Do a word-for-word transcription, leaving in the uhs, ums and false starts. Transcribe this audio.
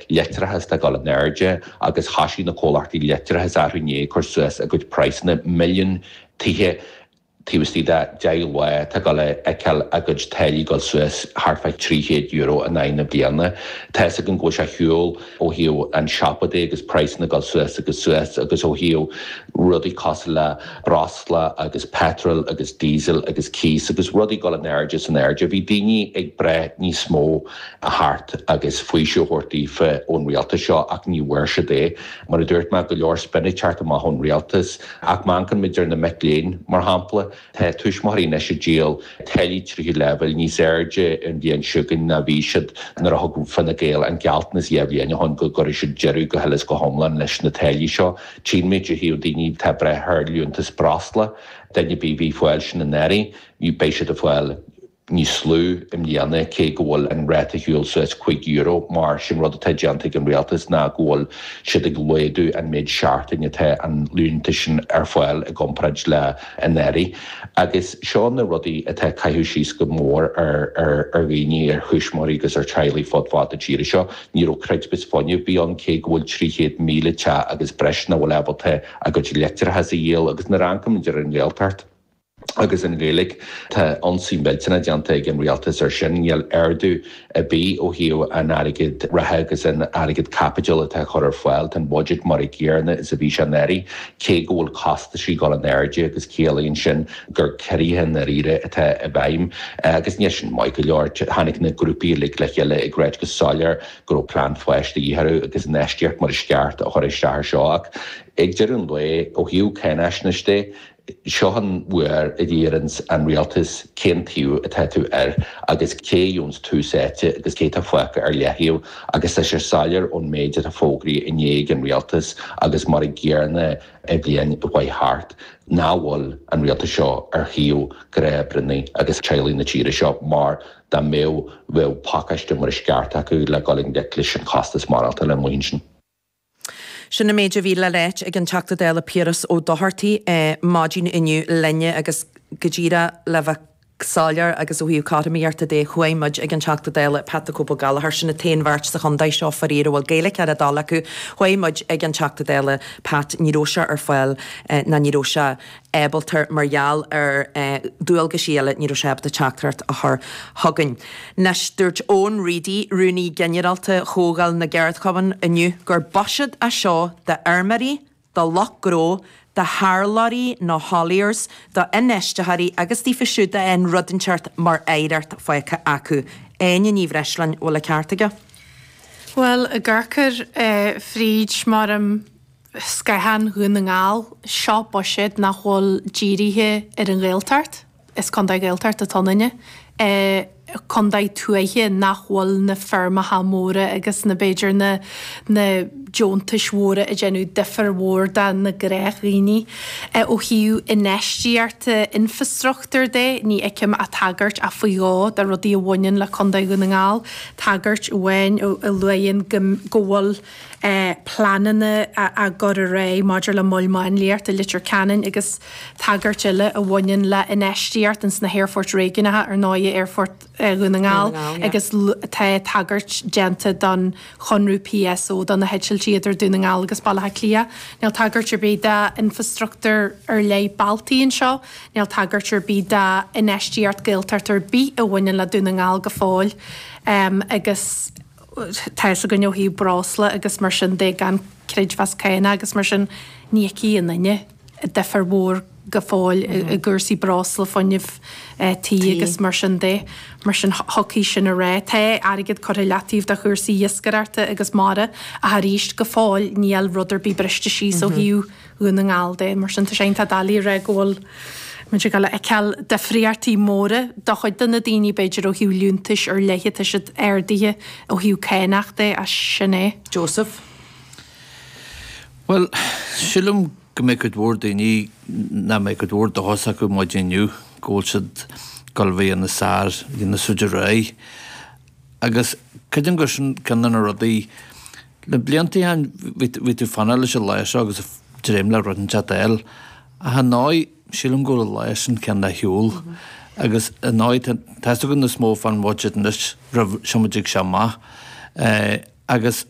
Leictreachas atá ag dul in airde agus thoisigh na comhlachtaí leictreachais arú inné cur suas a gcuid praghsanna milliún tithe taobh istigh de deich lá atá ag dul a fheiceáil a gcuid táillí dul suas thart fá trí chéad euro in aghaidh na bliana. Tá fhios againn go bhfuil sé ar shiúl ó thaobh an siopa de agus praghsanna ag dul suas agus suas agus ó thaobh rudaí cosúil le breosla agus petrol agus diesel agus cíos agus rudaí ag dul in airde is in airde. Bhí daoine ag breith níos mó a theacht agus faoiseamh a thabhairt daofa ón rialtas seo ach ní bhfuair siad é. Mar a dúirt mé, go leor spin ag teacht amach ón rialtas ach má amharcann muid ar na mic léinn, mar shampla, tá tuismitheoirí anois ag díol táillí tríú leibhéal níos airde an bhliain seo chugainn ná bhí siad nuair a thug Fine Gael an gealltanas dhá bhliain ó shin go gcuirfidh siad deireadh go huile is go hiomlán leis na táillí seo. Tchíonn muid ó thaobh daoine atá ag breith ar liúntas breosla, duine ar bith a bhí ag fáil sin anuraidh, beidh siad ag fáil níos lú i mbliana cé go bhfuil an ráta ar shiúl suas cúig euro mar sin rud atá déanta ag an rialtas ná go bhfuil siad ag laghdú an méid seachtain atá an liúntas sin ar fáil i gcomparáid le anuraidh. Agus seo na rudaí atá ag caitheamh síos go mór ar ar ar dhaoine, ar thuismitheoirí agus ar teaghlaigh fud fad na tíre seo. Ní raibh creidmheas fuinnimh ar bith ann cé go bhfuil trí chéad míle teach agus breis nach bhfuil ábalta a gcuid leictreachas a dhíol agus nuair a amharcann muid ar an Ghaeltacht, agus an Ghaeilge. Tá ionsaí millteanach déanta ag an rialtas ar sin. Níl ardú ar bith ó thaobh an airgid reatha agus an airgead caipitil atá á chur ar fáil. Tá an budget mar a gcéanna is a bhí sé anuraidh, cé go bhfuil costaisí ag dul in airde agus ciallaíonn sin gur ciorruithe i ndáiríre atá i bhfeidhm. Agus níl sin maith go leor. Tháinig na grúpaí uilig le chéile ag ráit go soiléir go raibh plean fáis de dhíth orthu agus infheistíocht mar is ceart a chur isteach air seo. Ach ag deireadh an lae, ó thaobh cáinaisnéis de, Seo an uair a d'iarranns an rialtas cén taobh atá tú air agus cé a gheobhanns tús áite agus cé atá fágtha ar leathaobh agus tá sé soiléir ón méid atá fógraithe inné ag an rialtas agus mar a gcéanna an bhliain a chuaigh thart nach bhfuil an rialtas seo ar thaobh gnáthoibreannaí agus teaghlaigh na tíre seo mar dá mbeadh bheadh pacáiste mar is ceart acu le dul i ngleic leis an chostas maireachtála amuigh ansin. Sin an méid a bhí le ráit ag an Teachta Dála Piaras Ó Dochartaigh maidin inniu linne agus go díreach le bheith soiléir agus ó thaobh cothromaíochta de, chuaigh muid ag an Teachta Dála Pat the Cope Ó Gallchóir, sin an t-aon bheirt sa chontae seo faraor a bhfuil Gaeilge ar a dtoil acu, chuaigh muid ag an Teachta Dála Pat, ní raibh sé ar fáil ná ní raibh sé ábalta mar gheall ar dualgaisí eile, ní raibh sé ábalta teachtaireacht a chur chugainn. Anois, dúirt Eoin Reidy, Rúnaí Ginearálta Chomhdháil na gCeardchumann inniu gur buiséad é seo d'fheirmeoirí, do lucht gnó, do tharlóirí nó hauliers, do infheistitheoirí agus daofa siúd a fhaigheann rud inteacht mar oidhreacht fágtha acu. Áine Ní Bhreisleáin, bhfuil an ceart aige? Bhuel, ag amharc air fríd mar scáthán Dhún na nGall, seo buiséad nach bhfuil dírithe ar an Ghaeltacht, is contae Gaeltachta atá ionainne, contae tuaithe nach bhfuil na feirmeacha móra agus na b'fhéidir na na deontais mhóra ag déanamh difear mhór do na gnáthdhaoine. Ó thaobh infheistíochta infreastruchtúir de, ní fheicim ach tagairt ach faoi dhó do rudaí a bhaineann le Contae Dhún na nGall, tagairt amháin a luaigheann go go bhfuil pleananna á gcur ar aghaidh maidir le Mol Máinliachta i Leitir Ceanainn agus tagairt eile a bhaineann le infheistíocht ins na haerfoirt réigiúnacha, ar ndóigh Aerfort Dhún na nGall agus tá tagairt déanta don chonradh PSO do na heitiltí idir Dún na nGall agus Baile Átha Cliath. Níl tagairt ar bith d'infreastruchtúr ar leith bealtaí anseo, níl tagairt ar bith d'infheistíocht Gaeltacht ar bith a bhaineann le Dún na nGall go fóill agus tá fhios againn ó thaobh breosla agus mar sin de gan creidmheas cánach agus mar sin ní fheicfidh aon duine difear mhór go fóill i gcúrsaí breosla, fuinneamh tí agus mar sin de. Mar sin thiocfaidh sin ar aghaidh. Tá airgead curtha i leataobh do chúrsaí iascaireachta agus mara ach arís go fóill níl rud ar bith briste síos ó thaobh Dhún na nGall de. Mar sin tá sé iontach doiligh a rá go bhfuil muid ag dul a fheiceáil difríochtaí móra do chuid de na daoine b'fhéidir ó thaobh liúntais ar leith atá siad ardaithe ó thaobh cánach de ach sin é. Joseph. Bhuel, sílim go mbeidh cuid mhór daoine nach mbeidh cuid mhór dóchas acu maidin inniu go bhfuil siad ag dul a bheith ina sár, ina suid ar aghaidh. Agus creidim gur sin ceann de na rudaí, le blianta ó shin bhí tú ag fanacht leis an lá seo agus ag dréim le rud inteacht a fháil. Ach ar ndóigh, sílim go bhfuil an lá sin cineál ar shiúl. Agus ar ndóigh, tá a fhios againn níos mó fán bhuiséad anois roimh seo muid ag seo amach. Agus